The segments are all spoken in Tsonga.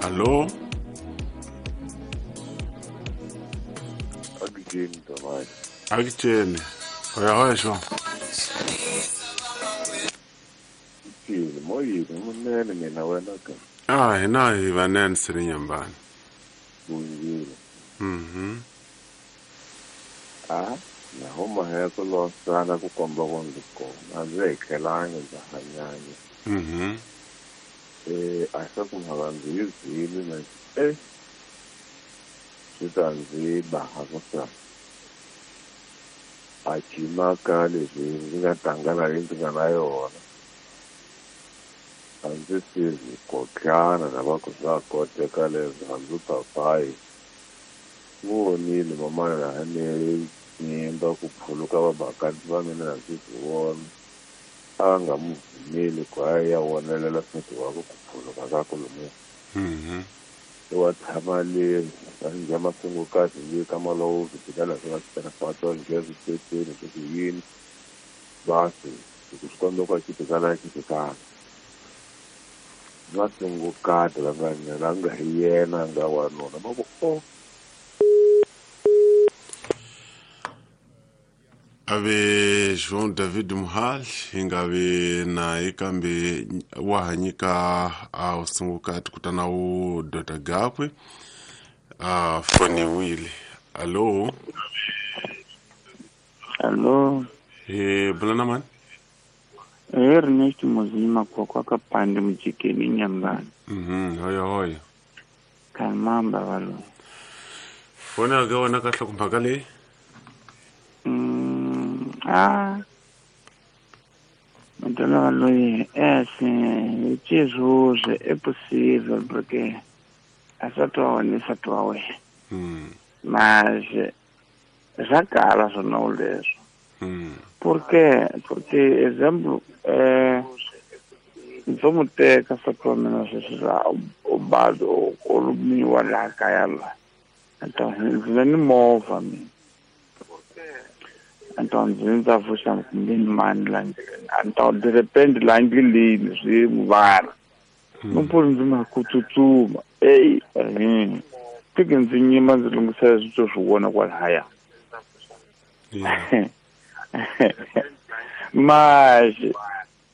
Allo? Akitsheni. Hoya hoya sho. Ah, hina hi vanene siri nyambani. Mhm. Ah, na homa ya ku losana ku komba ku ndzi kona ndzi hi tlhelangi ndza hanyanya. Mhm. A swa ku mhaka ndzi yi zwile na swi ta ndzi ba ku sa a cimaka leswi ndzi nga tlangana leyi ndzi nga na yona a ndzi sizi kotlana na va ku swa koteka leswi hambi papayi vonile mamana laha ni nyimba ku phuluka vabakati va mina na ndzi swi vona a nga mu pfumeli ku a ya wonelela nsati wakwe ku phuluka ka ku lomuya. Wa tshama le a ndya masungukati le ka malowo swibedhlele swi nga swi njhe switeteni swi ku yini basi ku swi komba ku a xitikala xitikala masungukati la nga la nga hi yena nga wanuna va ku o ave João David Muhal hingavi naye kambe wa hanyika a usungukati kutana u dota gakwe a foniwile. Allo? Allo? Bulana mani? Ernest Muzima kwa kapande mjikeni nyambani. Mhm, hoya hoya. Kalmamba valo. Fona ga wona ka hlokomphaka le? Ah, então Luiz, é assim, Jesus, é possível, porque essa tua nessa tua mas já cala só não leso. Por quê? Porque, exemplo, vamos ter que essa tua menos o bado o luminho lá caiala. Então, não move-me. Então ndzi vuxa kumbe mani la ndleleni então de repente la ndleleni swi muvara no puri ndzi ma ku tsutsuma ey tike ndzi nyima ndzi lunghisela switso swi vona kwalahaya mas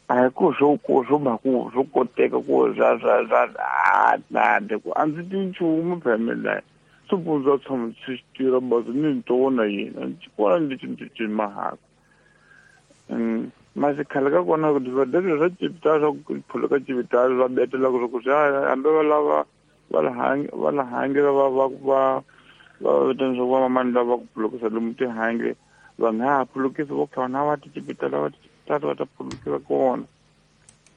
a hi ku swo ku swo ma ku swo koteka ku swa swa swa a nade ku a ndzi ti nchumu phela la supundza tshama swi tirha bazi ni ntona yena ndzi kona ndzi ndzi mahaka mas khale ka kona ku swa cipitala swa ku phuluka cipitala swa betela ku ku swa hambi va lava va la hangela va va va va vitana swa va mamani lava ku phulukisa lomu tihange va nga ha phulukisi vo khona va ti cipitala va ti cipitala va ta phulukisa kona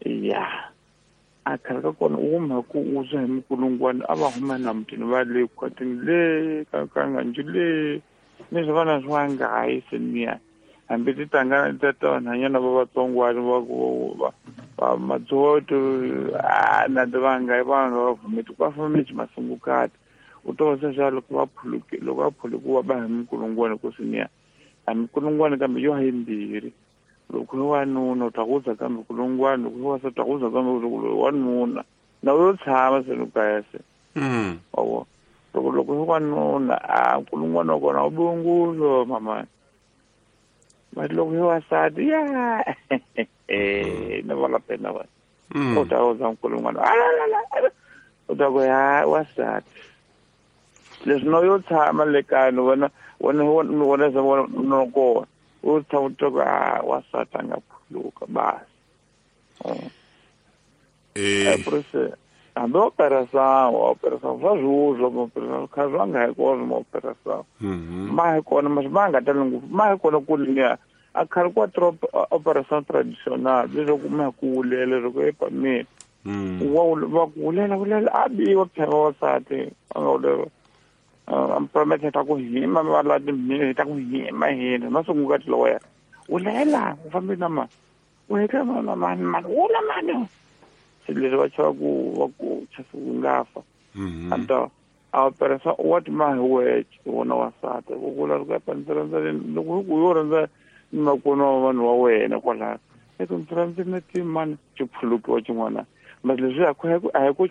ya a khale ka kona u huma ku u swa hi mikulungwana a va huma na mutini va le khwatini le ka ka nganji le ni swi vana swa ngayi se niya hambi ti tangana ta ta vanhanyana va vatsongwana va ku va va madzoto a na ti va nga va nga va vhumeti va famba masungukati u to se swa loko va phuluki loko va phulukiwa va hi mikulungwana ku siniya a mikulungwana kambe yo hi mbirhi loko hi wanuna u ta ku za kambe kulungwana loko hi wasati ta ku za kambe wanuna na yo tshama se no kaya se wa loko loko hi wanuna a kulungwana wa kona u bunguzo mama but loko hi wasati ya na vala pena wa u ta ku za kulungwana u ta ku ya wasati leswi no yo tshama le kaya ni vona wona wona se vona no kona u tshama u twa ku a wasati a nga phuluka basi hambi operação operação swa zwiuzwa maoperação kha swa nga hi kona maoperação ma hi kona mas ma nga tali ngopfu ma hi kona ku liya a khale kwa operação tradicional leswaku ma ku wulela leswaku epameni wa ku wulela wulela a biwa phela wasati a nga wulela promete ta ku hima va la timhini ta ku hima hina masungukati lowa wulela u fambi na ma u heta na mani mani wula mani se leswi va chava ku va ku chasa ku nga fa anta a operação wa ti ma hi wexe wona wasati ku vula loko ya ndzi rhandza loko ku yo rhandza ni makona wa vanhu wa wena kwalaya eka ndzi rhandza na timani xi phulukiwa xin'wana mas leswi a hi ku